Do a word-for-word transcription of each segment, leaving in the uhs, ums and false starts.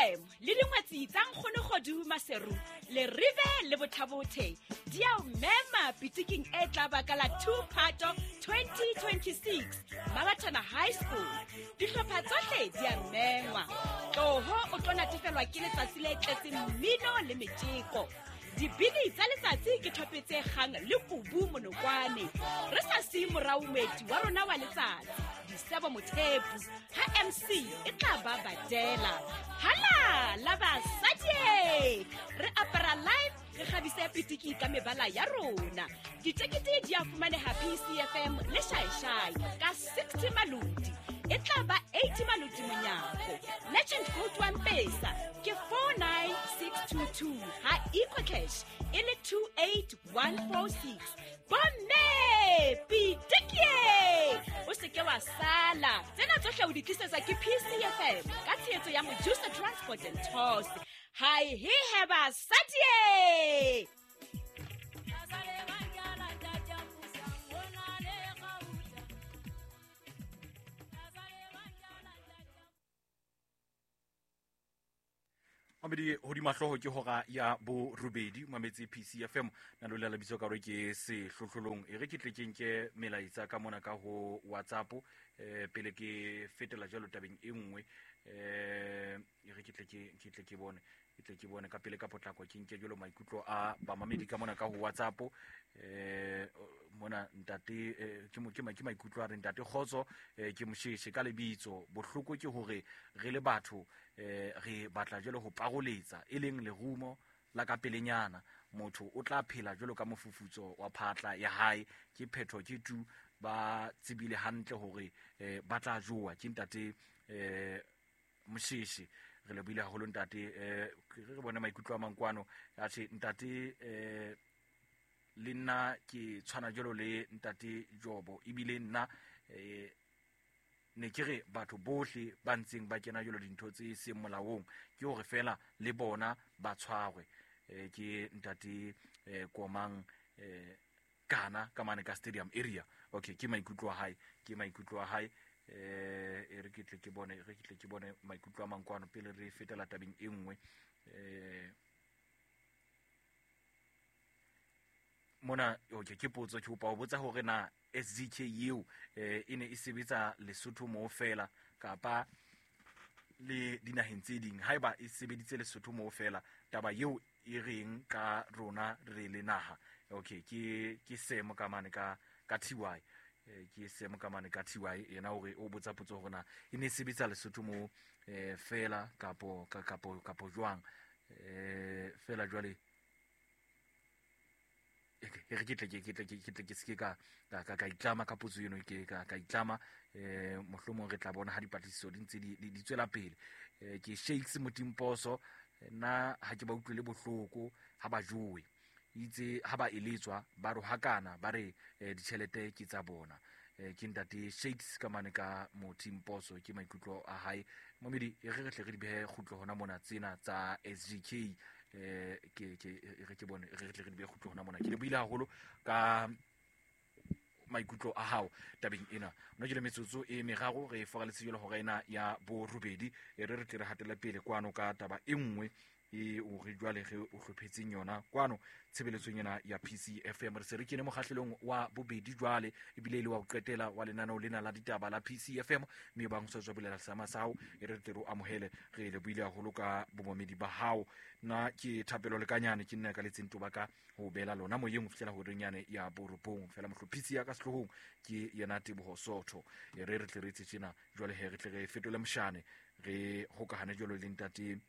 F M le dingwetsi tsa Nkgono Kgodu Maseru le Rive le Bothabothe di a o mema pitiking e tla ba ka la two Phato twenty twenty-six Mabatana High School. Dihlopha tsohle di a mengwa. Tloho o tlo natefelwa ke letsatsi le tletseng mmino le metjeko. Dibini tsa letsatsi ke thope tse kgang le kubu monokwane. Re sa siye morao moeti wa rona wa letsatsi, Disebo Mothepu, ha M C e tla ba badela. Hala la basadi! Re apara live, re kgabise pitiki ka mebala ya rona. Ditekete di a fumaneha P C F M le Shaishai ka sixty maloti. E tla ba eighty maloti monyako. Legend code wa Mpesa ke four nine six two two ha EcoCash e le two eight one four six. Bomme pitiki! O se ke wa sala. Tsena tsohle o di tlisetsa ke P C F M ka tshehetso ya Mojusa Transport and Tours. Hi he he basadi! Mamedi hodima hlooho ke hora ya borobedi mametse P C F M na lo lela bitso ka hore ke sehlohlolong e re ke tle ke nke melaetsa ka mona ka ho WhatsApp eh pele ke fetela jalo tabeng e nngwe eh e re ke tle ke ke tle ke bone ke tle ke bone ka pele ka potlako ke nke jalo maikutlo a bamamedi ka mona ka ho WhatsApp eh mona ntate ke mo ke ke maikutlo a re ntate Kgotso ke Mosheshe ka lebitso bohloko ke hore re le batho eh re batla jalo ho paroletsa e leng lerumo la ka pelenyana motho o tla phela jalo ka mofufutso wa phatla ya hae ke phetho ke tu ba tsebile hantle hore ba tla jowa ke ntate eh Mosheshe re le buile haholo ntate eh re bone maikutlo a mankwano a tjhe ntate eh le nna ke tshwana jalo le ntate Jobo ebile nna eh ne ke re batho bohle ba ntseng ba kena jalo dintho tse seng molaong ke hore fela le bona ba tshwarwe eh ke ntate eh Komang eh kana ka mane ka stadium area. Okay, ke maikutlo a hae ke maikutlo a hae eh e re ke tle ke bone re ke tle ke bone maikutlo a mankwano pele re fetela tabeng e nngwe eh mona okay ke potso ke kopa ho botsa hore na S D K eo eh e ne e sebetsa Lesotho mo fela kapa le dinaheng tse ding haeba e sebeditse Lesotho mo fela taba eo e reng ka rona re le naha. Okay, ke ke semo ka mane ka ka T Y eh ke semo ka mane ka T Y yena hore o botsa potso hore na e ne e sebetsa Lesotho mo eh fela kapo kapo kapo jwang eh fela jwale e re ke tle ke ke tle ke tle ke se ka ka ka itlama ka potso eno ke ka ka itlama eh mohlomong re tla bona ha dipatlisiso di ntse di di tswela pele eh ke Shakes Motimposo nna ha ke ba utlwele bohloko ha ba jowe itse ha ba eletswa ba rohakana ba re ditjhelete ke tsa bona eh ke ntate Shakes ka mane ka Motimposo ke maikutlo a hae momedi e re re tle re di behe kgutlo hona mona tsena tsa S G K eh ke ke re ke bone re tle re di behe kgutlo hona mona ke le buile haholo ka maikutlo a hao tabeng ena no ke le metsotso e meraro re foraletse jalo hora ena ya borobedi e re re tle re hatele pele kwano ka taba e nngwe e o re jwale re o hlophetseng yona kwano tshebeletsong ena ya P C F M re se re kene mokgahlelong wa bobedi jwale ebile le wa ho qetela wa lenaneo lena la ditaba la P C F M mme bang so tswa bulela sama sa hao e re tle re amohele re le buile haholo ka bomomedi ba hao nna ke Thapelo Lekanyane ke nna ka letseng toba ka ho bela lona moyeng ho fihlela horeng yane ya borobong fela mohlophisi ya ka sehlohong ke yena Teboho Sotho e re re tle re etse tjena jwale he re tle re fetole moshane re hokahane jwalo le ntate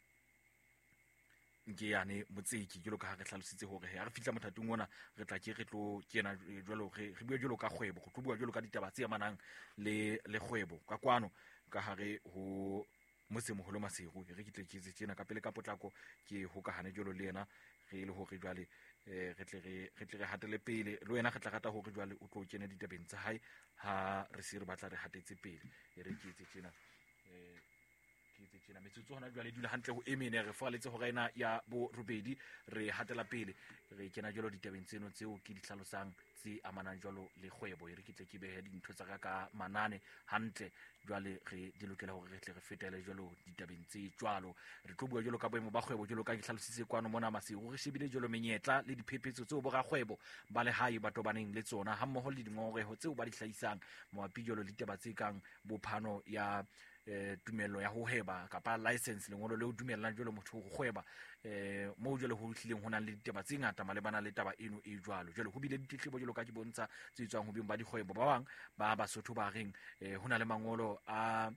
nke yane Motseki jalo ka ha re hlalositse hore ha re fihla mothatong ona re tla ke re tlo kena jwalo re re bua jwalo ka kgwebo go tlo bua jwalo ka ditaba tse amanang le le kgwebo ka kwano ka hare ho motsemoholo Maseru re ke tle ke etse tjena ka pele ka potlako ke hokahane jwalo le yena re le hore jwale eh re tle re re tle re hatele pele le wena re tla rata hore jwale o tlo kena ditabeng tsa hae ha re se re batla re hatetse pele e re ke etse tjena eh ke etse Entse tjena metsotso hona jwale dula hantle ho emene re faletse hora ena ya bo robedi re hatela pele re kena jwalo ditabeng tseno tseo ke di hlalosang tse amanang jwalo le kgwebo. E re ke tle ke behe dintho tsa ka ka manane hantle jwale re di lokela hore re tle re fetele jwalo ditabeng tse jwalo. Re tlo bua jwalo ka boemo ba kgwebo jwalo ka ke hlalositse kwano mona Maseru, re shebile jwalo menyetla le diphephetso tseo borakgwebo ba lehae ba tobaneng le tsona hammoho le dingongoreho tseo ba di hlahisang mabapi jwalo le ditaba tse kang bophano ya eh tumello ya ho hweba kapa license, lengolo leo dumellang jwalo motho ho kgweba eh mo jwalo ho hlileng ho nang le ditaba tse ngata malebana le taba eno e jwalo. Jwalo ho bile ditletlebo jwalo ka ke bontsha tse tswang ho beng ba dikgwebo ba bang ba Basotho ba reng eh ho na le mangolo a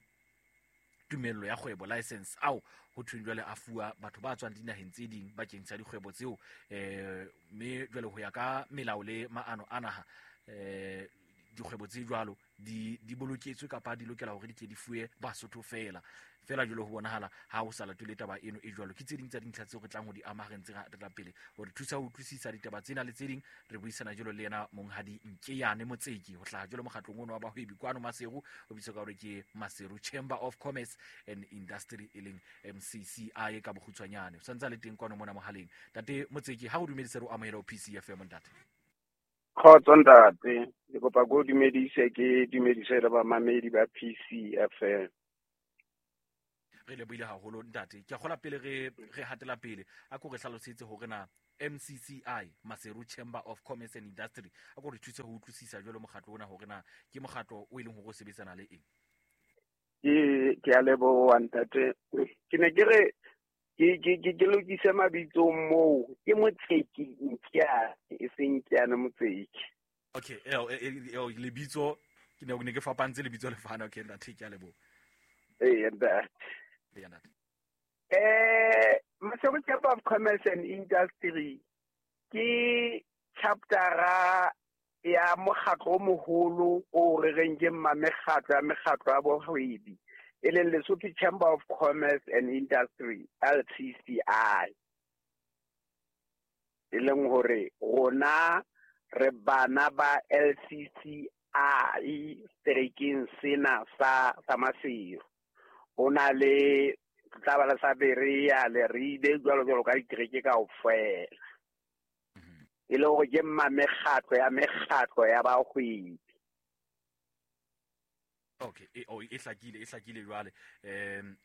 tumello ya kgwebo license ao ho thweng jwale a fuwa batho ba tswang dinaheng tse ding bakeng sa dikgwebo tseo eh mme jwale ho ya ka melao le maano a naha eh dikgwebo tse jwalo di di boloketswe kapa di lokela hore di ke di fuwe Basotho fela fela jwalo ho bonahala ha ho sa latele taba eno e jwalo. Ke tse ding tsa dintlha tseo re tlang ho di ama re ntse re tla pele hore thusa ho utlwisisa ditaba tsena le tse ding. Re buisana jwalo le yena monghadi Nkeyane Motseki ho hlaha jwalo mokgatlong ono wa bahwebi kwano Maseru, o bitswa ka hore ke Maseru Chamber of Commerce and Industry e leng M C C I ka bokgutshwanyane. O santse le teng kwano mona mohaleng. Ntate Motseki, ha o dumedise re o amohela ho P C F M ntate. Kgotso ntate, ke kopa go dumedise ke dumedise le bamamedi ba P C F M. Re lebohile haholo ntate. Ke a kgola pele re re hatela pele a ko re hlalosetse hore na M C C I Maseru Chamber of Commerce and Industry a ko re thuse ho utlwisisa jwalo mokgatlo ona hore na ke mokgatlo o e leng hore o sebetsana le eng. Ke ke a leboha ntate. Ke ne ke re ke ke ke ke lokise mabitso moo ke Motseki Nkeyane e seng Nkeyane Motseki. Okay, eo lebitso ke ne ne ke fapantse lebitso le fana. Okay ntate, ke a leboha. Eh ntate. Eh Maseru Chamber of Commerce and Industry ke chaptera ya mokgatlo o moholo o re reng ke mmamekgatlo ya mekgatlo ya bohwebi e leng Lesotho Chamber of Commerce and Industry L C C I, e leng hore rona re bana ba L C C I seterekeng sena sa sa Maseru. Ho na le tla ba la sa Berea le Ribe jwalo jwalo ka ditereke kaofela, e le hore ke mmamekgatlo ya mekgatlo ya bahwebi. Okay, e o e hlakile e hlakile jwale. Em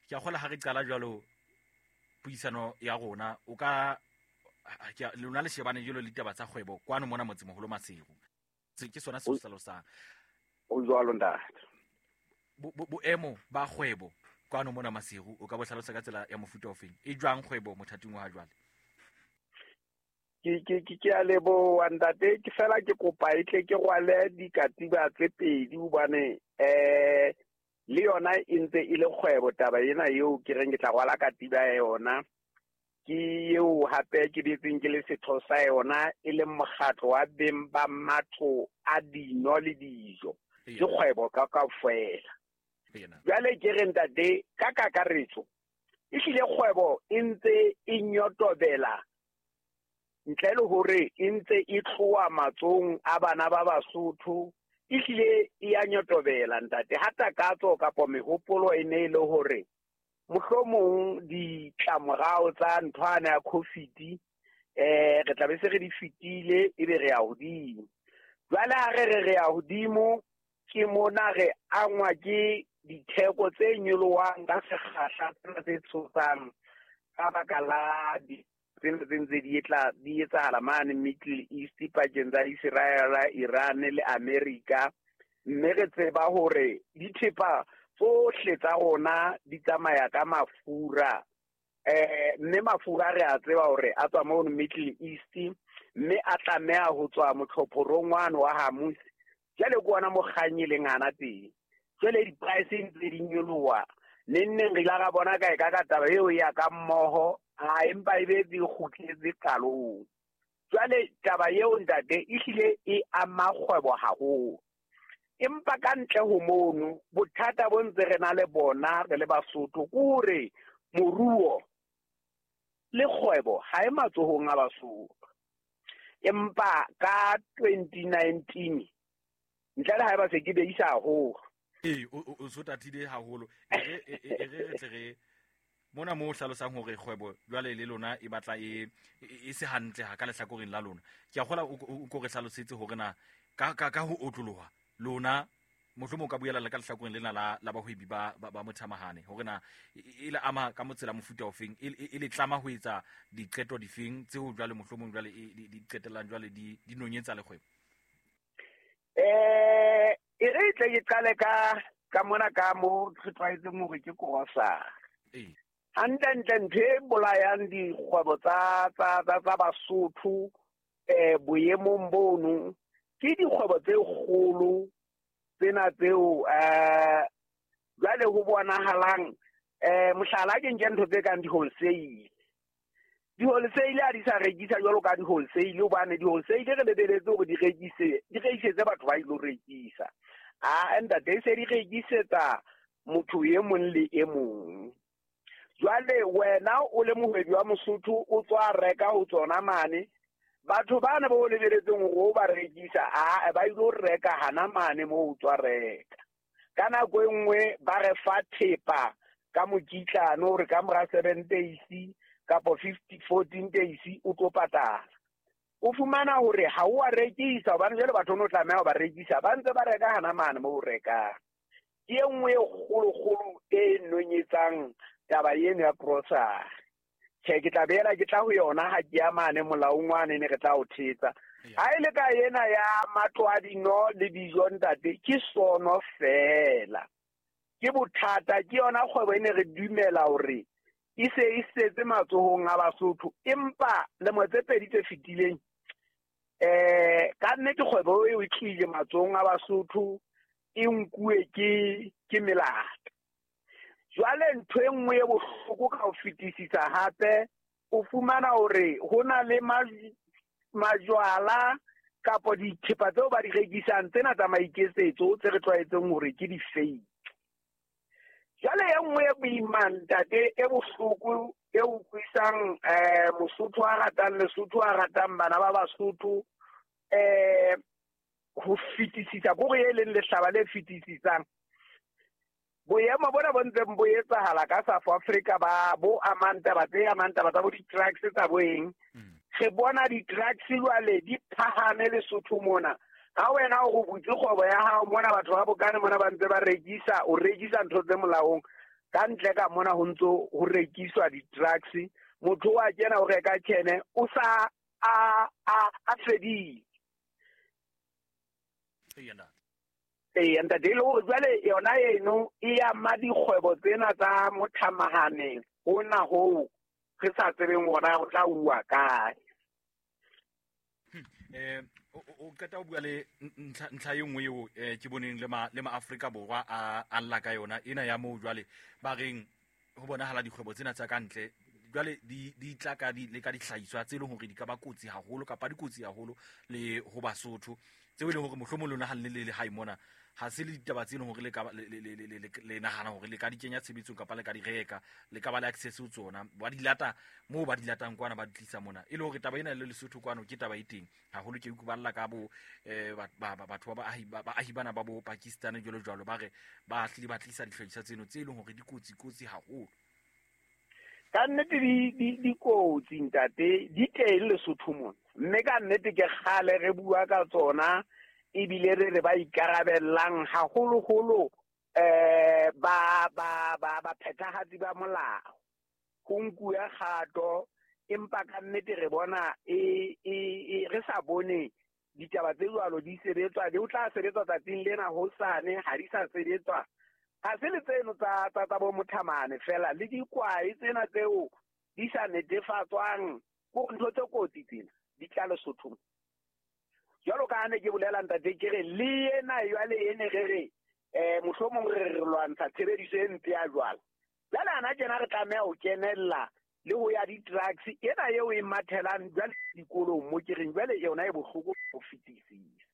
ke a kgola ha re qala jwalo puisano ya rona o ka ke lona le shebane jwalo le ditaba tsa kgwebo kwano mona motsemoholo Maseru. Se ke sona se se hlalosang. O jwalo ntate. Boemo ba kgwebo kwano mona Maseru o ka bo hlalosa ka tsela ya mofuta ofeng? E jwang kgwebo mothating wa ha jwale? Ke ke ke a leboha ntate, ke fela ke kopa e tle ke rwale dikatiba tse pedi hobane eh le yona e ntse e le kgwebo taba ena eo ke reng ke tla rwala katiba ya yona. Ke eo hape ke betseng ke le setho sa yona e leng mokgatlo wa beng ba matlo a dino le dijo. Ke kgwebo ka kaofela. Jwale ke re ntate ka kakaretso ehlile kgwebo e ntse e nyotobela ntle le hore e ntse e tloha matsong a bana ba Basotho, ehlile e ya nyotobela ntate. Ha takatso kapa mehopolo e ne e le hore mohlomong ditlamorao tsa nthwana ya COVID eh re tla be se re di fetile ebe re ya hodimo. Jwale ha re re re ya hodimo ke mona re angwa ke ditheko tse nyolohang ka sekgahla tsena tse tshosang ka baka la di tsena tse ntse di etla di etsahala mane Middle East pakeng tsa Israel, Iran le America, mme re tseba hore dithepa tsohle tsa rona di tsamaya ka mafura eh mme mafura re a tseba hore a tswa mono Middle East mme a tlameha ho tswa motlhophorong wane wa Hormuz. Jwale ke ona mo kgang e leng hana teng. Jwale di-price ntse di nyoloha neng neng re ile ra bona kae ka ka taba eo ya ka mmoho a empa e be di kgutletse qalong. Jwale taba eo ntate ehlile e ama kgwebo haholo, empa ka ntle ho mono bothata bo ntse re na le bona re le Basotho ke hore moruo le kgwebo ha e matsohong a Basotho. Empa ka twenty nineteen ntle le haeba se ke beisa haholo Ee, o so tatile haholo. E re e re re tle re mona mo hlalosang hore kgwebo jwale le lona e batla e e se hantle ha ka lehlakoreng la lona. Ke a kgola o ko re hlalosetse hore na ka ka ka ho otloloha lona mohlomong ka buela le ka lehlakoreng lena la la bahwebi ba ba mothamahane hore na e le ama ka motsela mofuta ofeng, e le tlama ho etsa diqeto difeng tseo jwale mohlomong jwale di qetellang jwale di di nonyetsa le kgwebo. Eh e re tle ke qale ka ka mona ka mo re tlwaetseng hore ke grocery. Ee. Hantle ntho e bolayang dikgwebo tsa tsa tsa Basotho eh boemong bono ke dikgwebo tse kgolo tsena tseo eh jwale ho bonahalang eh mohlala ke nke ntho tse kang di-wholesale. Di-wholesale ha di sa rekisa jwalo ka di-wholesale, hobane di-wholesale re lebeletse hore di rekise di rekisetse batho ba ilo rekisa. A ntate se di rekisetsa motho e mong le e mong. Jwale wena o le mohwebi wa Mosotho o tswa reka ho tsona mane, batho bana ba o lebeletseng hore o ba rekisa a ba ilo reka hana mane moo o tswa reka. Ka nako e nngwe ba re fa thepa ka mokitlano hore ka mora seven days kapo fifty fourteen days o tlo patala. O fumana hore ha o a rekisa hobane jwale batho no tlameha ho ba rekisa, ba ntse ba reka hana mane moo o rekang. Ke e nngwe e kgolokgolo e nonyetsang taba eno ya grocery. Tjhe, ke tla beela ke tla ho yona ha ke ya mane molaong wane ne re tla o thetsa. Ha e le ka ena ya matlo a dino le dijo ntate, ke sono fela. Ke bothata, ke yona kgwebo e ne re dumela hore e se e setse matsohong a Basotho, empa lemo tse pedi tse fetileng eh ka nnete kgwebo eo e tlile matsohong a Basotho e nkuwe ke ke melata. Jwale ntho e nngwe e bohloko ka ho fetisisa hape, o fumana hore ho na le majwala kapo dithepa tseo ba di rekisang tsena tsa maiketsetso tse re tlwaetseng hore ke di-fake. Jwale e nngwe e boima ntate e bohloko e utlwisang eh Mosotho a ratang Lesotho a ratang bana ba Basotho eh ho fetisisa, kore e leng lehlaba le fetisisang. Boemo bona bo ntseng bo etsahala ka South Africa ba bo amang taba tse amang taba tsa bo di-drugs tsa bo eng. Re bona di-drugs jwale di phahame Lesotho mona. Ha wena o butse kgwebo ya hao mona, batho ba bokane mona ba ntse ba rekisa, o rekisa ntho tse molaong. Ka ntle ka mona ho ntso ho rekiswa di-drugs. Motho wa kena o reka tjhene o sa a a a fedile. Ee, ntate, le hore jwale yona eno e ama dikgwebo tsena tsa mothamahaneng hona hoo re sa tsebeng hore ho tla uwa kae. Eh o qeta ho bua le ntlha e nngwe eo ke boneng le ma le ma Afrika Borwa a a lla ka yona ena ya moo jwale ba reng ho bonahala dikgwebo tsena tsa ka ntle jwale di di tla ka di le ka dihlahiswa tse leng hore di ka ba kotsi haholo kapa dikotsi haholo le ho Basotho tseo e leng hore mohlomong lona ha le le hae mona ha se le ditaba tse leng hore le ka le nahana hore le ka di kenya tshebetsong kapa le ka di reka, le ka ba le access ho tsona, ba di lata moo ba di latang kwana ba di tlisa mona. E le hore taba ena le Lesotho kwano ke taba e teng haholo. Ke utlwa ka bo batho ba baahi baahi bana ba bo Pakistan jwalo jwalo ba re ba hlile ba tlisa dihlahiswa tseno tse leng hore di kotsi kotsi haholo. Ka nnete di dikotsi ntate di teng Lesotho mona, mme ka nnete ke kgale re bua ka tsona ebile re re ba ikarabellang haholoholo eh ba ba ba ba phethahatsi ba molao ho nkuwe kgato, empa ka nnete re bona e e re sa bone ditaba tse jwalo di sebetswa, di o tla sebetswa tsatsing lena hosane ha di sa sebetswa. Ha se le tseno tsa tsa tsa bo mothamane fela le dikwae tsena tseo di sa netefatswang ko ntho tse kotsi tsena di tla Lesothong. Jwalo ka ha ne ke bolela ntate ke re le ena jwale ene re re eh mohlomong re re lwantsha tshebediso e mpe ya jwala. Jwale ana tjena re tlameha ho kenella le ho ya di-drugs ena eo e mathelang jwale dikolong mo ke reng jwale yona e bohloko ho fetisisa.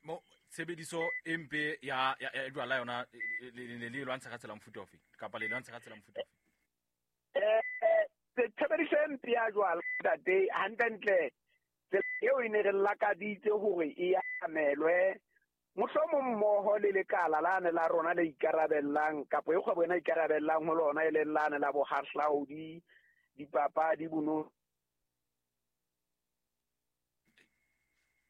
Mo tshebediso e mpe ya ya jwala yona le le lwantsha ka tsela mofuta ofe kapa le lwantsha ka tsela mofuta ofe? Eh tshebediso e mpe ya jwala ntate hantlentle tsela eo e ne re lakaditse hore e amelwe Mohlomong mmoho le lekala lane la rona le ikarabellang kapa e kgwebo ena ikarabellang ho lona e leng lane la bohahlaudi, dipapadi, bono.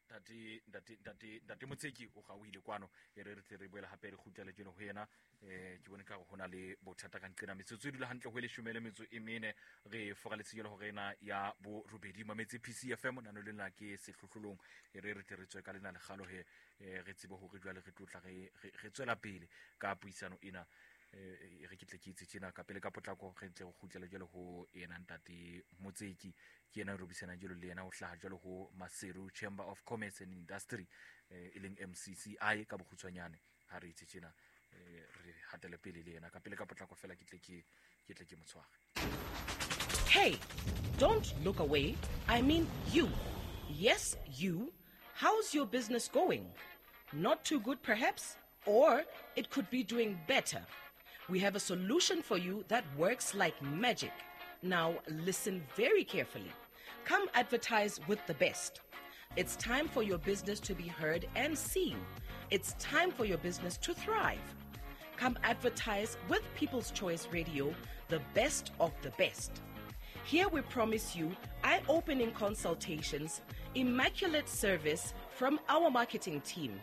Ntate ntate ntate ntate Motseki o gauhile kwano, e re re tle re boele hape re kgutlele jeno ho yena. Eh ke bone ka hore hona le bothata ka nqena metsotso e dula hantle ho e leshome le metso e mene re foraletse jalo hore ena ya bo robedi mametse P C F M nano le nna ke sehlohlolong, e re re tle re tswe ka lena lekgalo he, re tsebe hore jwale re tlotla re re tswela pele ka puisano ena. Eh re ke tle ke itse tjena ka pele ka potlako re tle re kgutlele jwale ho yena ntate Motseki, ke yena re buisana jalo le yena o hlaha jwalo ho Maseru Chamber of Commerce and Industry e leng M C C I ka bokgutshwanyane. Ha re itse tjena re hatele pele le yena ka pele ka potlako fela ke tle ke ke tle ke motshware. Hey, don't look away. I mean you. Yes, you. How's your business going? Not too good perhaps, or it could be doing better. We have a solution for you that works like magic. Now listen very carefully. Come advertise with the best. It's time for your business to be heard and seen. It's time for your business to thrive. Come advertise with People's Choice Radio, the best of the best. Here we promise you eye-opening consultations, immaculate service from our marketing team.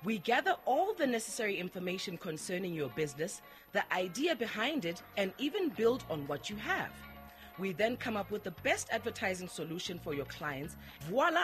We gather all the necessary information concerning your business, the idea behind it, and even build on what you have. We then come up with the best advertising solution for your clients. Voila!